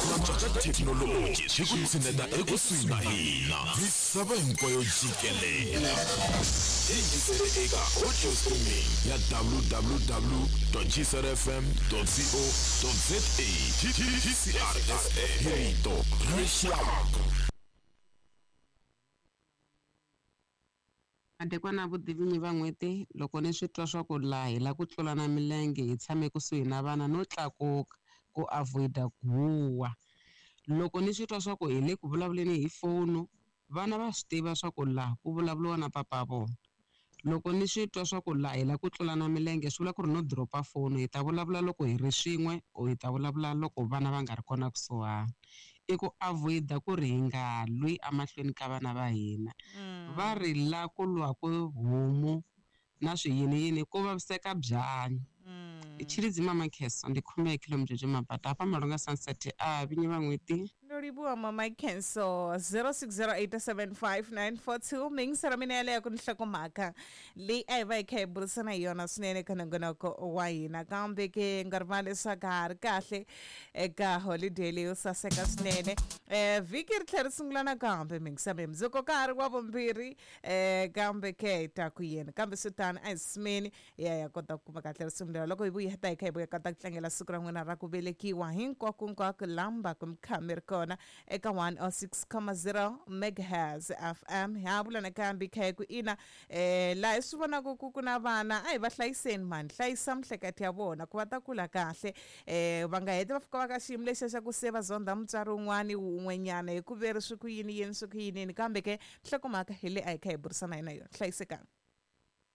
Ku cinca ka thekinoloji swi ku tshineta ekusuhi na hina. Misava hinkwayo jikelele. Yingisele eka audio streaming ya www.gcrfm.co.za. GCRFM hi rito ra rixaka. Madekwana vutivinyi va n'hweti loko ni swi twa swa ku laha hi lava ku tlulana milenge hi tshame kusuhi na vana no tlakuka ku avoid-a ku huha. Loko ni swi twa swa ku hi le ku vulavuleni hi foni vana va swi tiva swa ku laha ku vulavuriwa na papa vona. Loko ni swi twa swa ku laha hi lava ku tlulana milenge swi vula ku ri no drop-a foni hi ta vulavula loko hi ri swin'we or hi ta vulavula loko vana va nga ri kona kusuhani. I ku avoid-a ku ri hi nga lwi emahlweni ka vana va hina. Va ri la ku lwaku homu na swiyiniyini ku vaviseka byanyi. Tshilidzi Mama Kheso ndi khume khilo Mabata hafha Malunga Sunset a vinyi va n'hweti. Ndo livhuwa Mama Khenso. 06087594 mingiselo mina yaleyo ku ni nhlokomhaka leyi a hi va hi kha hi burisana hi yona swinene eka nongonoko wa hina, kambe ke nga rivali leswaku ha ri kahle eka holiday leyo saseka swinene. Vhiki ri tlhela ri sungula nakambe mingiselo mundzuku ka ha ri wa vumbirhi, kambe ke hi ta ku yini, kambe swi tano a hi simeni hi ya hi ya kota ku kuma kahle risimu leri. Loko hi vuya ta hi kha hi vuya kota ku tlangela siku ra n'wina ra ku velekiwa hinkwako hinkwako lamba ku mi kha mi ri kona eka 106.0 megahertz FM. Ha vula nakambe kha hi ku ina, laha hi swi vonaka ku ku na vana a hi va hlayiseni mani, hlayisa miehleketo ya vona ku va ta kula kahle, va nga heti va fika va ka xiyimo lexiya xa ku se va zondha mutswari wun'wani wun'wenyana hi ku ve ri swi ku yini yini swi ku yini yini, kambe ke nhlokomhaka hi leyi a hi kha hi burisana hi na yona. Hlayisekanga.